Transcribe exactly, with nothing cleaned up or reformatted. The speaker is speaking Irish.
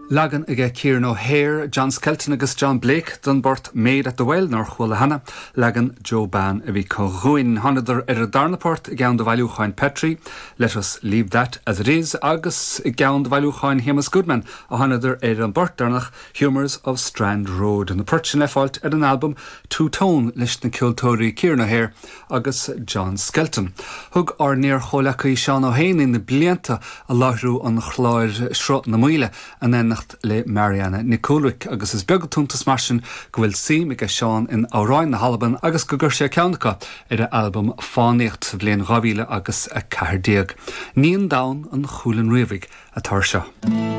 Leagan aige Kieran O'Hare, John Skelton agus John Blake den bport Maid at the Well nár chuala cheana, leagan Joe Ban a bhí againn. Thánadar ar an darna port i gceann de bhailiúcháin Petrie, Let us leave that as it is, agus i gceann de bhailiúcháin Shéamus Goodman a thánadar ar an bport deireanach Humours of Strand Road. Na poirt sin le fáilt ar an album Two Tone leis na ceoltóirí Kieran O'Hare agus John Skelton. Thug ár n-iar-chomhleacaí Seán Ó hÉanaí na blianta ag láithriú an chláir Sruth na Maoile in éineacht le Marianna Nic Cúlric agus is beag an t-iontas mar sin go bhfuil suim aige Seán in amhráin na hAlban agus go gcuir sé ceann acu ar a album Fánaíocht sa bhliain dhá mhíle agus a ceathair déag. Níon Donn an Chúilin Riabhaigh atá seo.